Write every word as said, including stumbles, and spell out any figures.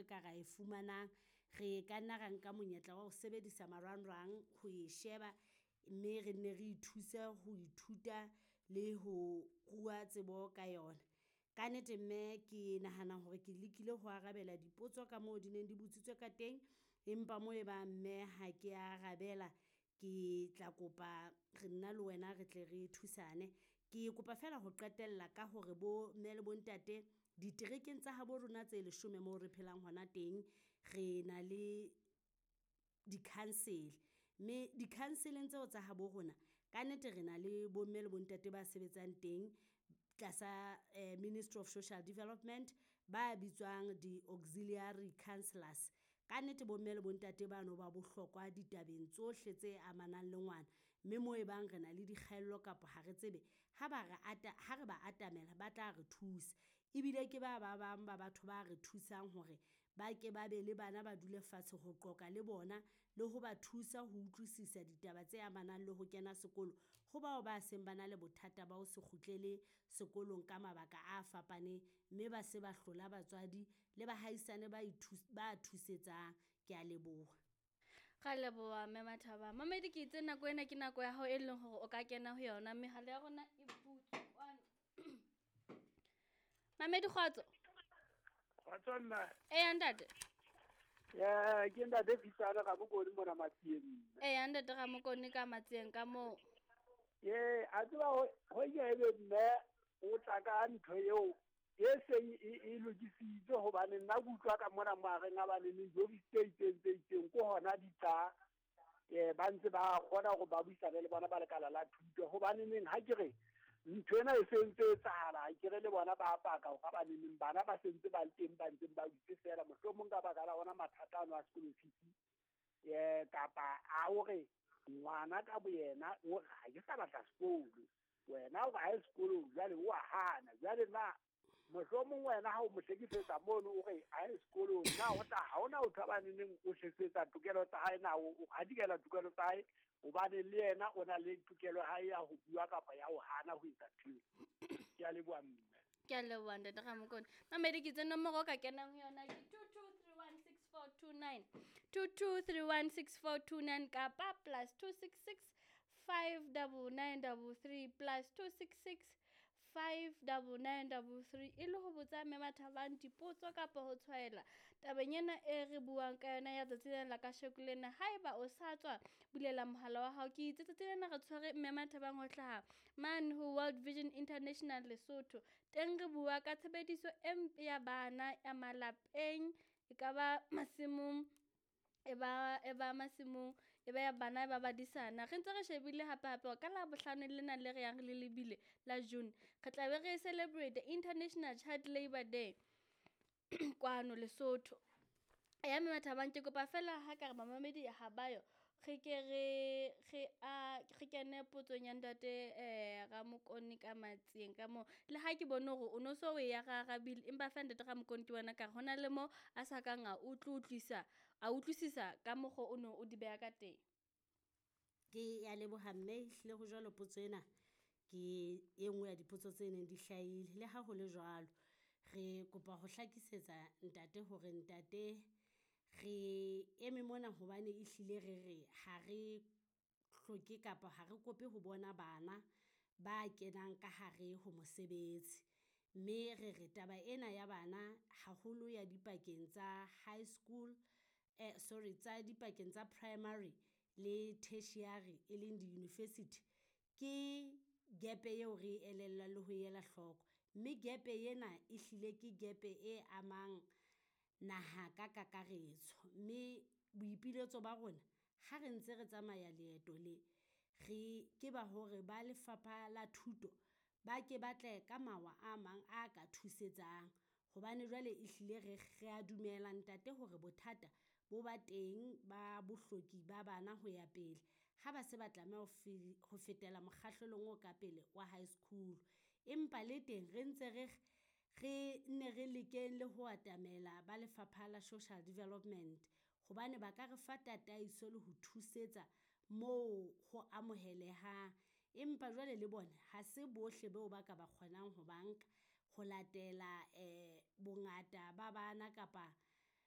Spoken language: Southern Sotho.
ka ra e fumanang. Re ka nna ra nka monyetla wa ho sebedisa marangrang ho e sheba, mme re nne re ithuse ho ithuta le ho rua tsebo ka yona. Kannete mme ke nahana hore ke lekile ho arabela dipotso ka moo di neng di botsitswe ka teng, empa mo e bang mme ha kea arabela ke tla kopa re nna le wena re tle re thusane. Ke kopa feela ho qetella ka hore bo mme le bo ntate diterekeng tsa habo rona tse leshome moo re phelang hona teng, re na le di-council. Mme di-council-eng tseo tsa habo rona, kannete re na le bo mme le bo ntate ba sebetsang teng tlasa Ministry of Social Development, ba bitswang di-auxiliary councilors. Kannete bo mme le bo ntate bano ba bohlokwa ditabeng tsohle tse amanang le ngwana, mme mo e bang re na le dikgaello kapa ha re tsebe, ha ba re ata ha re ba atamela ba tla re thusa. Ebile ke ba ba bang ba batho ba re thusang hore ba ke ba be le bana ba dule fatshe ho qoqa le bona, le ho ba thusa ho utlwisisa ditaba tse amanang le ho kena sekolo. Ho bao ba seng ba na le bothata ba ho se kgutlele sekolong ka mabaka a fapaneng, mme ba se ba hlola batswadi le bahaisane ba ba thusetsang, kea leboha. Ra leboha mme Mathaba. Mamedi ke itse nako ena ke nako ya hao e leng hore o ka kena ho yona. Mehala ya rona e butswe kwano. Mamedi kgotso. Kgotso mme. Eya ntate. Eh ke ntate Fisana ka Mokone mona Matsieng. Eya ntate Ramokone ka Matsieng ka moo. Eh a tseba ho ho ye ebe mme o tla ka ntho eo e seng e lokisitswe hobane nna ke utlwa ka mona mahareng a ba le job tse itseng tse itseng ko hona di tla eh ba ntse ba kgona hore ba buisane le bona ba lekala la thuto hobane neng ha ke re ntho ena e sentse e etsahala ha ke re le bona ba paka hore ba neneng bana ba sentse ba le teng ba ntseng ba dutse feela mohlomong ka baka la ona mathata ano a sekolo fees eh kapa a hore ngwana ka boyena o ha ke sa batla sekolo wena o ha sekolong jwale o a hana jwale na mohlomong wena ha o mo hlekefetsa mono o re a ye sekolong na o tla ha ona o thabane neng o hlekefetsa tokelo tsa hae na o hadikela tokelo tsa hae hobane le yena o na le tokelo hae ya ho bua kapa ya ho hana ho etsa ntho. Ke a leboha mme. Ke a leboha ntate Ramokone. Mamedi ke itse nomoro o ka kenang ho yona ke two two three one six four two nine. two two three one six four two nine kapa plus two six six five double nine double three plus two six six five double nine double three e le ho botsa mme Mathabang dipotso kapa ho tshwaela tabeng ena e re buang ka yona ya tsatsi lena la kasheko lena. Haeba o sa tswa bulela mohala wa hao, ke itse tsatsi lena re tshwere mme Mathabang ho hlaha mane ho World Vision International Lesotho. Teng re bua ka tshebediso e mpe ya bana ya malapeng, e ka ba masimong, e ba e ba masimong, e ba ya bana ba badisana. Re ntse re shebile hape hape hore ka Labohlano lena le re yang re le lebile la June, re tla be re celebrate International Child Labour Day kwano Lesotho. Ya mme Mathabang ke kopa feela ha ka re mamamedi ha ba yo, re ke re re a re kene potsong ya ntate eh Ramokone ka Matsieng ka moo. Le ha ke bone hore o no so o e arabile, empa feela ntate Ramokone ke bona ka re hona le mo a sa kang a utlwisisa a utlwisisa ka mokgo o no o di beha ka teng. Ke ya leboha mme ehlile ho jwalo potso ena ke e nngwe ya dipotso tse neng di hlahile. Le ha ho le jwalo, re kopa ho hlakisetsa ntate hore ntate re eme mona hobane ehlile re re ha re hloke kapa ha re kope ho bona bana ba kenang ka hare ho mosebetsi. Mme re re taba ena ya bana haholo ya dipakeng tsa high school, eh sorry tsa dipakeng tsa primary le tertiary e leng di-university, ke gap eo re elellwang le ho ela hloko. Mme gap ena ehlile ke gap e amang naha ka kakaretso. Mme boipiletso ba rona ha re ntse re tsamaya leeto le, re ke ba hore ba lefapha la thuto ba ke batle ka mawa a mang a ka thusetsang. Hobane jwale ehlile re re a dumela ntate hore bothata bo ba teng ba bohloki ba bana ho ya pele. Ha ba se ba tlameha ho fe ho fetela mokgahlelong o ka pele wa high school. Empa le teng re ntse re re nne re lekeng le ho atamela ba lefapha la Social Development, hobane ba ka re fa tataiso le ho thusetsa moo ho amohelehang. Empa jwale le bona ha se bohle beo ba ka ba kgonang ho ba nka ho latela eh bongata ba bana kapa